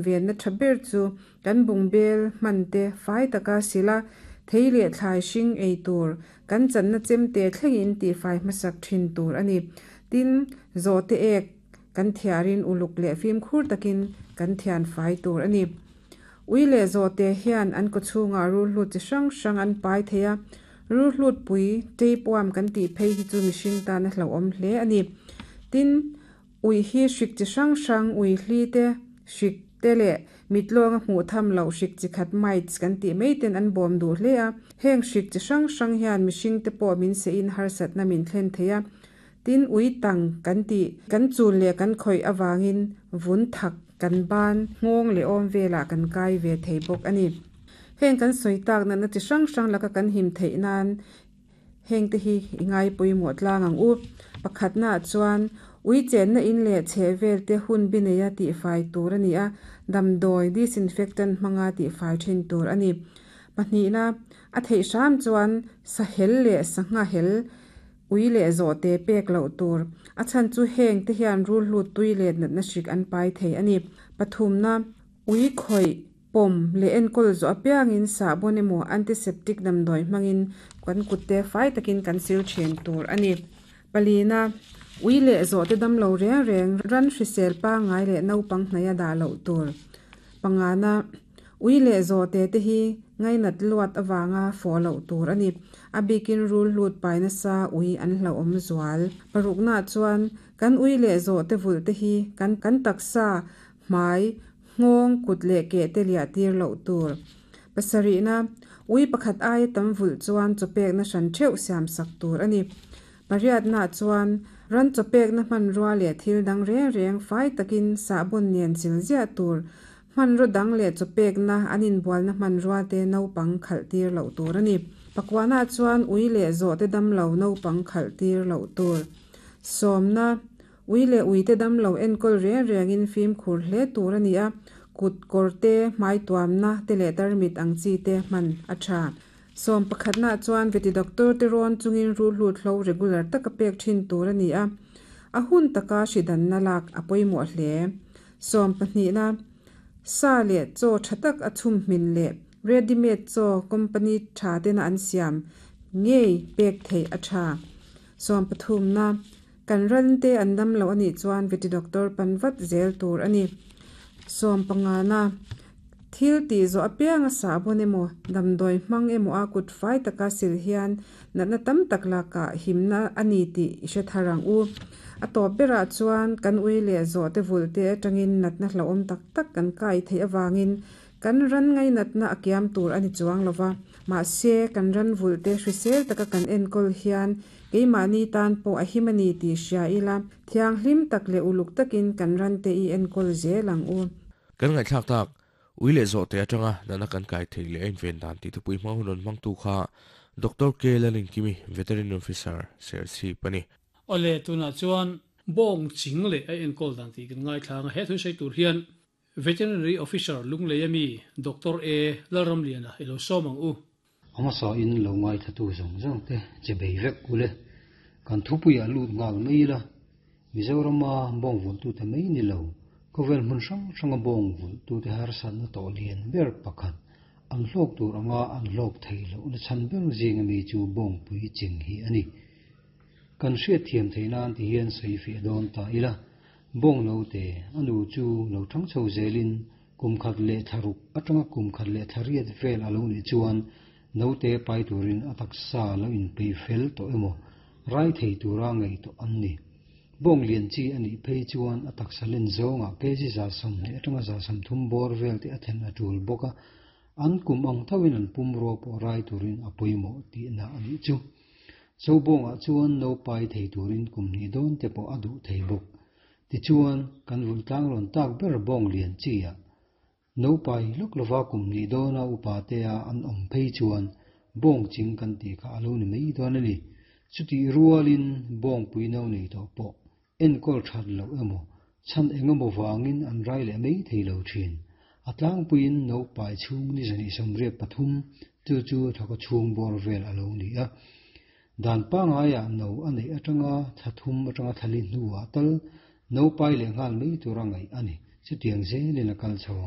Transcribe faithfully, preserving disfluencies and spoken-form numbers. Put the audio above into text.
Venna tha ber chu kan bungbel hman te fai taka sil a, thei leh thlai hring ei tur kan channa chemte thlengin tihfai hmasak thin tur a ni. Tin, zawhte ek kan thiarin uluk leh fimkhur takin kan thian fai tur a ni. Ui leh zawhte hian an kawchhungah rulhlut chi hrang hrang an pai thei a, rulhlut pui tapeworm kan tih phei hi chu mihring tan a hlauhawm hle a ni. Tin, ui hi hrik chi hrang hrang ui hli te, hrik te leh mitlawnga hmuh tham loh hrik chi khat mites kan tih mai ten an bawm duh hle a. Heng hrik chi hrang hrang hian mihring te pawh min sehin harsatna min thlen thei a. Tin, ui tang kan tih kan chul leh kan khawih awangin vun thak kan ban nghawng leh awm velah kan kai ve thei bawk a ni. Heng kan sawi tak natna chi hrang hrang laka kan him theih nan heng te hi i ngai pawimawh tlang ang u. Pakhatnaah chuan ui chenna in leh chhehvel te hun bi neia tihfai tur a ni a, damdawi disinfectant hmanga tihfai thin tur a ni. Pahnihna, a theih hram chuan sahel leh sangha hel ui leh zawhte pek loh tur. A chhan chu heng te hian rulhlut tui leh natna hrik an pai thei a ni. Pathumna, ui khawih pawm leh enkawl zawh apiangin sahbawn emaw antiseptic damdawi hmangin kan kutte fai takin kan sil thin tur a ni. Palina, ui leh zawhte damlo reng reng ran hrisel pangngai leh naupang hnaih a dah loh tur. Pangana, ui leh zawhte te hi ngainat luat awanga fawh loh tur a ni. A bikin rulhlut pai nasa ui an hlauhawm zual. Paruknaah chuan kan ui leh zawhte vulh te hi kan kan taksa hmai nghawng kut leh ke te liah tir loh tur. Pasarihna, ui pakhat aia tam vulh chuan chawpekna hran theuh siam sak tur a ni. Pariatnaah chuan ran chawpekna hmanrua leh thil dang reng reng fai takin sahbawn nen sil ziah tur. Hmanraw dang leh chawpekna an inbualna hmanrua te naupang khalh tir loh tur a ni. Pakuanaah chuan ui leh zawhte damlo naupang khalh tir loh tur. Sawmna, ui leh uite damlo enkawl reng rengin fimkhur hle tur a ni a, kut kawr te hmai tuamna te leh tarmit ang chi te hman a tha. Sawm pakhatnaah chuan veti doctor te rawn chungin rulhlut hlo regular taka pek thin tur a ni a, a hun taka hridanna lak a pawimawh hle. Sawm pahnihna, sa leh chaw tha tak a chhum hmin leh ready made chaw company tha tena an siam ngei pek theih a tha. Sawm pathumna, kan ran te an damlo a nih chuan veti doctor pan vat zel tur a ni. Sawm pangana, thil tih zawh apianga sahbawn emaw damdawi hmang emaw a kut fai taka sil hian natna tam tak lakah himna a ni tih i hre thar ang u. A tawp berah chuan kan ui leh zawhte vulh te atangin natna hlauhawm tak tak kan kai theih awangin kan ran ngai natna a kiam tur a ni chuang lova. Mahse kan ran vulh te hrisel taka kan enkawl hian keimahni tan pawh a him a ni tih hria ila, thianghlim tak leh uluk takin kan ran te i enkawl zel ang u. Kan ngaihthlak tak ui leh zawhte atanga natna kan kai thei leh a inven dan tih thupui hmang hun rawn hmangtu kha Doctor K Lalinkimi, Veterinary Officer, Serchhip a ni. Awle tunah chuan bawng ching leh a enkawl dan tih kan ngaithla ang a, he thu sawi tur hian Veterinary Officer Lunglei ami Doctor A Lalramliana i lo sawm ang u. A hmasa in lo ngaithla tu zawng zawng te che bei vek ule. Kan thupuiah lut nghal mai ila, Mizorama bawng vulh tute mai ni lo, khawvel hmun hrang hranga bawng vulh tute harsatna tawh lian ber pakhat an hlawk tur anga an hlawk thei loh na chhan ber zing ami chu bawng pui ching hi a ni. Kan hriat thiam theih nan ti hian sawi fiah dawn ta ila, bawng no te a nu chu lo thang chho zelin kum khat leh thlaruk atanga kum khat leh thlariat vel a lo nih chuan no te pai turin a taksa lo inpeih fel tawh emaw rai thei tura ngei tawh an ni. Bawng lian chi a nih phei chuan a taksa len zawngah kg za sawmhnih atanga za sawmthum bawr vel te a then a tul bawk a, an kum ang thoin an pum rua pawh rai turin a pawimawh tihna a nih chu. Zo bawngah chuan no pai thei turin kum hnih dawn te pawh a duh thei bawk. Tichuan kan vulh tlang rawn tak ber bawng lian chi a, no pai lawk lova kum hnih dawna upa te a an awm phei chuan bawng ching kan tih kha a lo ni mai dawn a ni. Chutih rualin bawng pui no nei tawh pawh enkawl that loh emaw chhan engemaw wangin an rai leh mai thei lo thin. A tlangpuiin no pai chhung ni zani sawmriat pathum chu chu thaka chhung bawr vel a lo ni a. Dan pangngai ah no a neih atanga thlathum atanga thlali hnuah tal no pai leh nghal mai tura ngaih a ni. Chutiang zelin a kal chho ang.